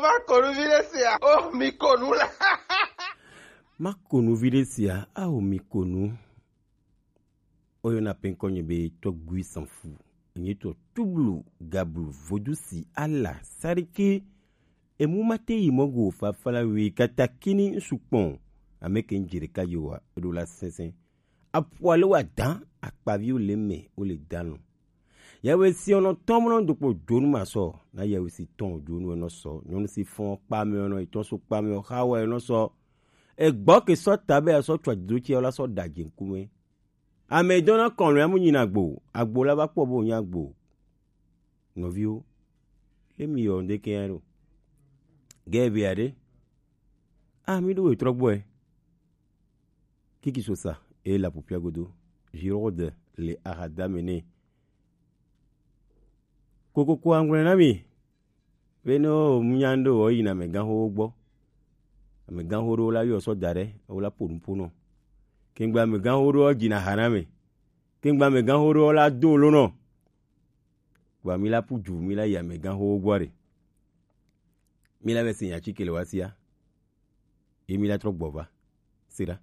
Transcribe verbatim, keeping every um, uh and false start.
Ma ko nu vi ɖe sia. Oh, mi ko nu la. Ma ko nu vi ɖe sia. Ao, mi ko nu. Oyɔna pɛnkɔ nye be Tɔgbui Sanfu. Enye tɔ tublu gablu vodusi ala sariki. Emu mate yi mɔ go fafala wi katakini nsukpɔn. Ame ke n jere ka yo wa eɖo la sɛnsɛn. Aƒua le wa dan akpaviwo le me wo le dan nɔ. Yawe si ɔnɔ tɔmɔ nɔ dokpo donu ma sɔ. Na yawe si tɔn donu enɔ sɔ. Nyɔnu si fɔn kpame ɔnɔ etɔn so kpame ɔxa wa enɔ sɔ. Egbɔ ke sɔ ta be asɔ tsɔ dzido tsi ɔla sɔ da dze ŋkume. Ame dɔna kɔn lo ya mu nyina agbo. Agbo la va kpɔ bo nya agbo. Nɔviwo, le mi yɔ ŋdeke ya ɖo. Gɛ be aɖe. Ah, mi ɖo wetrɔ gbɔe. Kiki sosa e la pupia godo. Girode le ahadame ne. Kokoko angwle na mi. Be no munyando o yina me gan ho gbɔ. Ame gan ho ɖo la yɔ sɔ da ɖe, o la ponu ponɔ. Kengba ame gan ho ɖo dzi na ha na me. Kengba ame gan ho ɖo la do lo nɔ. Gba mi la pu ju mi la yi ame gan ho gbɔ ɖe. Mi la be si nya tsi ke le wa sia. Ye mi la trɔ gbɔ va. Se ɖa.